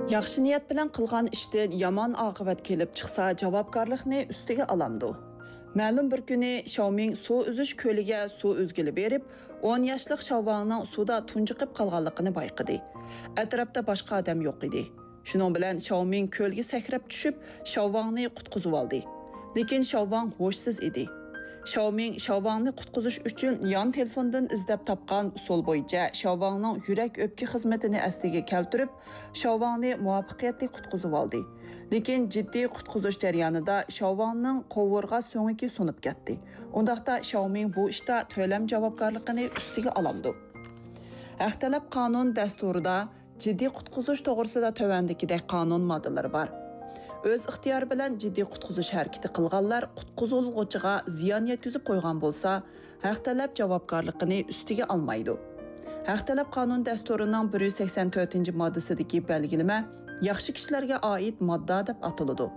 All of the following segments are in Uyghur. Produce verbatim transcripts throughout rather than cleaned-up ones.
ياخشى نىيەت بىلەن قىلغان ئىشتىن يامان ئاقىۋەت كېلىپ چىقسا، جاۋابكارلىقنى ئۈستىگە ئالامدۇ؟ مەلۇم بىر كۈنى شياۋمىڭ سۇ ئۈزۈش كۆلىگە سۇ ئۈزگىلى بېرىپ، ئون ياشلىق شياۋۋاڭنىڭ سۇدا تۇنجۇقۇپ قالغانلىقىنى بايقىدى. ئەتراپتا باشقا ئادەم يوق ئىدى. شۇنىڭ بىلەن شياۋمىڭ كۆلگە سەكرەپ چۈشۈپ، شياۋۋاڭنى قۇتقۇزۇۋالدى. لېكىن شياۋۋاڭ ھوشسىز ئىدى. شياۋمىڭ شياۋۋاڭنى قۇتقۇزۇش ئۈچۈن يان تېلېفوندىن ئىزدەپ تاپقان ئۇسۇل بويىچە شياۋۋاڭنىڭ يۈرەك ئۆپكە خىزمىتىنى ئەسلىگە كەلتۈرۈپ، شياۋۋاڭنى مۇۋەپپەقىيەتلىك قۇتقۇزۇۋالدى. لېكىن جىددىي قۇتقۇزۇش جەريانىدا شياۋۋاڭنىڭ قوۋۇرغا سۆڭىكى سۇنۇپ كەتتى. ئۇنداقتا شياۋمىڭ بۇ ئىشتا تۆلەم جاۋابكارلىقىنى ئۈستىگە ئالامدۇ؟ ھەق تەلەپ قانۇن دەستۇرىدا جىددىي قۇتقۇزۇش توغرىسىدا تۆۋەندىكىدەك قانۇن ماددىلىرى بار. ئۆز ئىختىيارى بىلەن جىددىي قۇتقۇزۇش ھەرىكىتى قىلغانلار قۇتقۇزۇلغۇچىغا زىيان يەتكۈزۈپ قويغان بولسا، ھەق تەلەپ جاۋابكارلىقىنى ئۈستىگە ئالمايدۇ. ھەق تەلەپ قانۇن دەستۇرىنىڭ بىر يۈز سەكسەن تۆتىنچى ماددىسىدىكى بەلگىلىمە ياخشى كىشىلەرگە ئائىت ماددا دەپ ئاتىلىدۇ.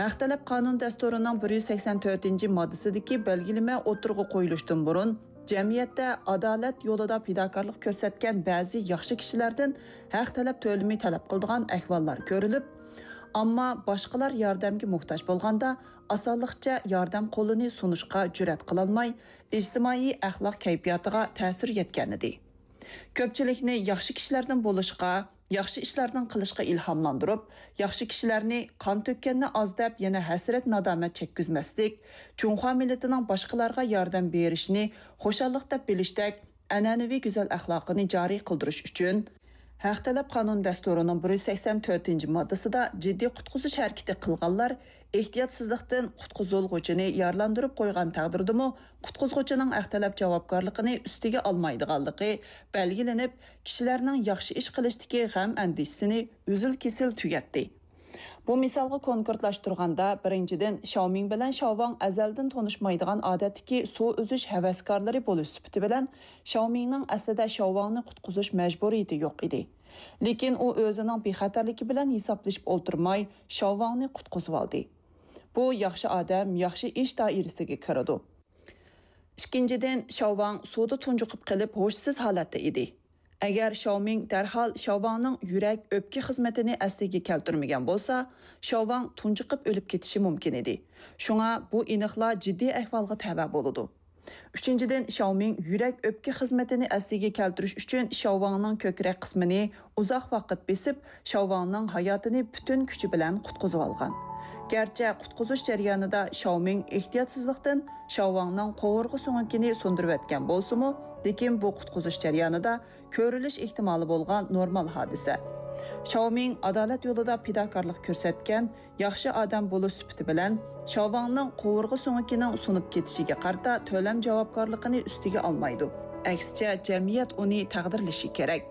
ھەق تەلەپ قانۇن دەستۇرىنىڭ بىر يۈز سەكسەن تۆتىنچى ماددىسىدىكى بەلگىلىمە ئوتتۇرىغا قويۇلۇشتىن بۇرۇن، جەمئىيەتتە ئادالەت يولىدا پىداكارلىق كۆرسەتكەن بەزى ياخشى كىشىلەردىن ھەق تەلەپ تۆلىمى تەلەپ قىلىدىغان ئەھۋاللار كۆرۈلۈپ، ئەمما باشقىلار ياردەمگە موھتاج بولغاندا ئاسانلىقچە ياردەم قولىنى سۇنۇشقا جۈرئەت قىلالماي، ئىجتىمائىي ئەخلاق كەيپىياتىغا تەسىر يەتكەنىدى. كۆپچىلىكنى ياخشى كىشىلەردىن بولۇشقا، ياخشى ئىشلاردىن قىلىشقا ئىلھاملاندۇرۇپ، ياخشى كىشىلەرنى قان تۆككەننى ئاز دەپ، يەنە ھەسرەت-نادامەت چەككۈزمەسلىك، جۇڭخۇا مىللىتىنىڭ باشقىلارغا ياردەم بېرىشىنى خۇشاللىق دەپ بىلىشتەك ئەنئەنىۋى گۈزەل ئەخلاقىنى جارى قىلدۇرۇش ئۈچۈن، ھەق تەلەپ قانۇن دەستۇرىنىڭ بىر يۈز سەكسەن تۆتىنچى ماددىسىدا جىددىي قۇتقۇزۇش ھەرىكىتى قىلغانلار ئېھتىياتسىزلىقتىن قۇتقۇزۇلغۇچىنى يارىلاندۇرۇپ قويغان تەقدىردىمۇ، قۇتقۇزغۇچىنىڭ ھەق تەلەپ جاۋابكارلىقىنى ئۈستىگە ئالمايدىغانلىقى بەلگىلىنىپ، كىشىلەرنىڭ ياخشى ئىش قىلىشتىكى غەم-ئەندىشىسىنى ئۈزۈل-كېسىل تۈگەتتى. بۇ مىسالغا كونكرېتلاشتۇرغاندا، بىرىنچىدىن، شياۋمىڭ بىلەن شياۋۋاڭ ئەزەلدىن تونۇشمايدىغان ئادەتتىكى سۇ ئۈزۈش ھەۋەسكارلىرى بولۇش سۈپىتى بىلەن، شياۋمىڭنىڭ ئەسلىدە شياۋۋاڭنى قۇتقۇزۇش مەجبۇرىيىتى يوق ئىدى. لېكىن ئۇ ئۆزىنىڭ بىخەتەرلىكى بىلەن ھېسابلىشىپ ئولتۇرماي، شياۋۋاڭنى قۇتقۇزۇۋالدى. بۇ ياخشى ئادەم، ياخشى ئىش دائىرىسىگە كىرىدۇ. ئىككىنچىدىن، شياۋۋاڭ سۇدا تۇنجۇقۇپ قېلىپ، ھوشسىز ھالەتتە ئىدى. ئەگەر شياۋمىڭ دەرھال شياۋۋاڭنىڭ يۈرەك ئۆپكە خىزمىتىنى ئەسلىگە كەلتۈرمىگەن بولسا، شياۋۋاڭ تۇنجۇقۇپ ئۆلۈپ كېتىشى مۇمكىن ئىدى. شۇڭا بۇ ئېنىقلا جىددىي ئەھۋالغا تەۋە بولىدۇ. ئۈچىنچىدىن، شياۋمىڭ يۈرەك ئۆپكە خىزمىتىنى ئەسلىگە كەلتۈرۈش ئۈچۈن شياۋۋاڭنىڭ كۆكرەك قىسمىنى ئۇزاق ۋاقىت بېسىپ، شياۋۋاڭنىڭ ھاياتىنى پۈتۈن كۈچى بىلەن قۇتقۇزۇۋالغان. گەرچە قۇتقۇزۇش جەريانىدا شياۋمىڭ ئېھتىياتسىزلىقتىن شياۋۋاڭنىڭ قوۋۇرغا سۆڭىكىنى سۇندۇرۇۋەتكەن بولسىمۇ، لېكىن بۇ قۇتقۇزۇش جەريانىدا كۆرۈلۈش ئېھتىمالى بولغان نورمال ھادىسە. شياۋمىڭ ئادالەت يولىدا پىداكارلىق كۆرسەتكەن ياخشى ئادەم بولۇش سۈپىتى بىلەن، شياۋۋاڭنىڭ قوۋۇرغا سۆڭىكىنىڭ سۇنۇپ كېتىشىگە قارىتا تۆلەم جاۋابكارلىقىنى ئۈستىگە ئالمايدۇ. ئەكسىچە، جەمئىيەت ئۇنى تەقدىرلىشى كېرەك.